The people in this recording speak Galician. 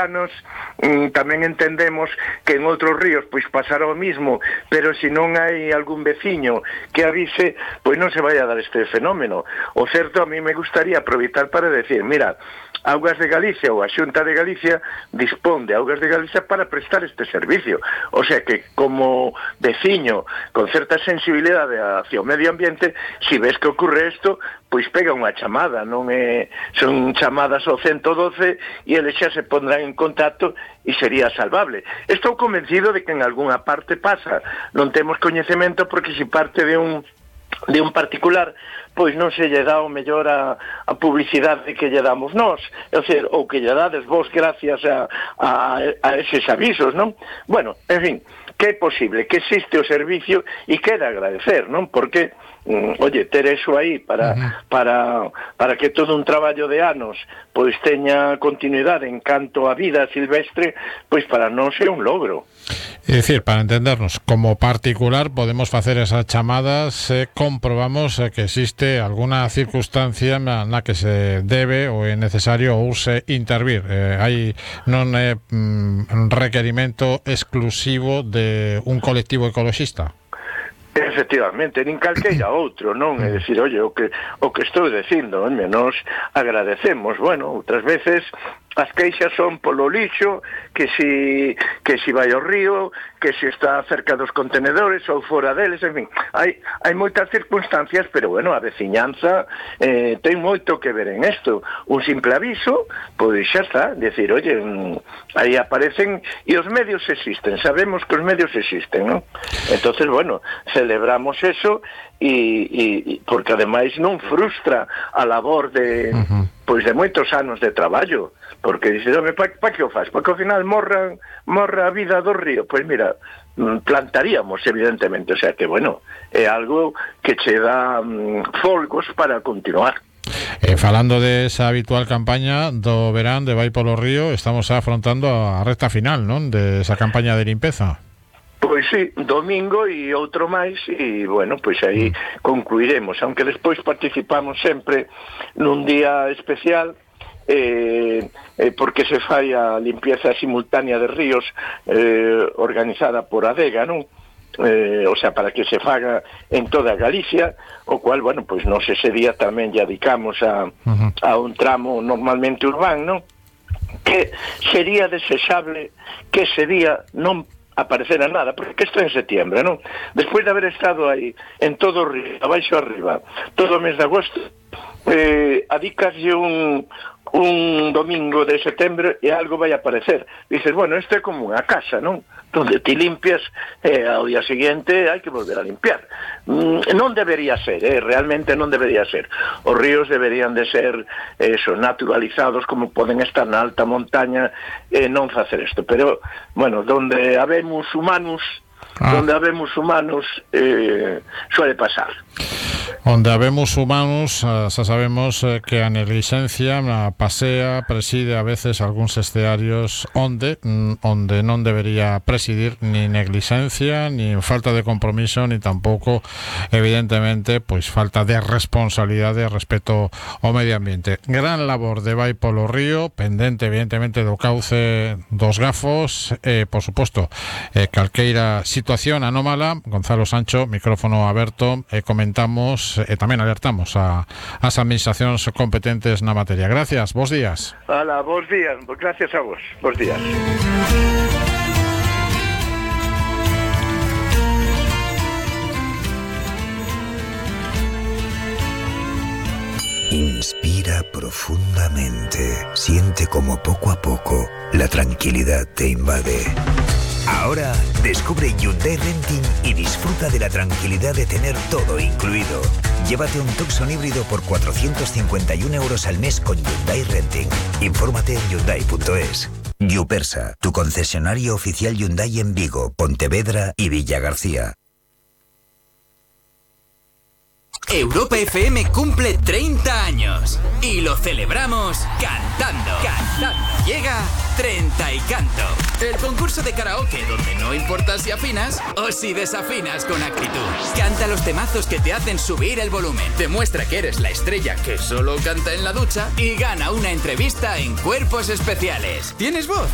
tamén entendemos que en outros ríos pois pasará o mismo, pero se non hai algún veciño que avise, pois non se vai a dar este fenómeno. O certo, a mí me gustaría aproveitar para decir, mira, Augas de Galicia ou a Xunta de Galicia dispón de Augas de Galicia para prestar este servicio. O sea que como veciño con certa sensibilidade hacia o medio ambiente, se ves que ocorre isto, pois pega unha chamada, non é, son chamadas ao 112 e eles xa se pondrán en contacto e sería salvable. Estou convencido de que en algunha parte pasa, non temos coñecemento porque se parte de un particular, pois non se lle dá o mellor a publicidade que lle damos nós, é dicir, ou que lle dades vos gracias a eses avisos, non? Bueno, en fin, que é posible, que existe o servicio e que é de agradecer, non? Porque, oye, ter eso aí para que todo un traballo de anos pois teña continuidade en canto a vida silvestre, pois para nós é un logro. É dicir, para entendernos, como particular podemos facer esas chamadas se comprobamos que existe alguna circunstancia na que se debe ou é necesario ou se intervir. Non é requerimento exclusivo de un colectivo ecoloxista. Efectivamente, nin calqueira outro, non? É dicir, oye, o que estou dicindo, nos agradecemos, bueno, outras veces as queixas son polo lixo, que si vai ao río, que si está cerca dos contenedores ou fora deles, en fin, hai moitas circunstancias, pero bueno, a veciñanza ten moito que ver en isto. Un simple aviso, pois xa está, decir, oye, aí aparecen, e os medios existen, sabemos que os medios existen, non? Entonces, bueno, celebramos eso, e porque ademais non frustra a labor de pois de moitos anos de traballo, porque dices, pa que o faz? Porque ao final morra a vida do río. Pois mira, plantaríamos evidentemente, o sea que bueno, é algo que che dá folgos para continuar. Falando de esa habitual campaña do verán de Vai polo Río, estamos afrontando a recta final, non? De esa campaña de limpeza. Pois sí, domingo e outro máis, e bueno, pois aí concluiremos, aunque despois participamos sempre nun día especial, porque se fai a limpieza simultánea de ríos organizada por Adega, non? O sea, para que se faga en toda Galicia, o cual, bueno, pois nos ese día tamén lle dedicamos a un tramo normalmente urbano, non? Que sería desexable que ese día non aparecera nada, porque isto é en setiembre, non? Despois de haber estado aí en todo o río, abaixo arriba, todo o mes de agosto, adicaslle un domingo de setembro e algo vai aparecer. Dices, bueno, isto é como unha casa, non? Donde ti limpias ao día seguinte hai que volver a limpiar. Non debería ser, realmente non debería ser. Os ríos deberían de ser naturalizados, como poden estar na alta montaña e non facer isto. Pero, bueno, donde habemos humanos suele pasar. Onde habemos humanos, xa sabemos que a neglixencia pasea, preside a veces algúns estearios onde non debería presidir ni neglixencia, ni falta de compromiso, ni tampouco, evidentemente, pois falta de responsabilidade respecto ao medio ambiente. Gran labor de Vai polo Río, pendente, evidentemente, do cauce dos gafos, por suposto, calqueira situación anómala. Gonzalo Sancho, micrófono aberto, comentamos e tamén alertamos as administracións competentes na materia. Gracias, bos días. Hola, bos días, gracias a vos, bos días. Inspira profundamente, siente como poco a poco la tranquilidad te invade. Ahora descubre Hyundai Renting y disfruta de la tranquilidad de tener todo incluido. Llévate un Tucson híbrido por 451 euros al mes con Hyundai Renting. Infórmate en Hyundai.es. Yupersa, tu concesionario oficial Hyundai en Vigo, Pontevedra y Villagarcía. Europa FM cumple 30 años y lo celebramos cantando. Llega 30 y Canto, el concurso de karaoke donde no importa si afinas o si desafinas con actitud. Canta los temazos que te hacen subir el volumen, demuestra que eres la estrella que solo canta en la ducha y gana una entrevista en Cuerpos Especiales. ¿Tienes voz?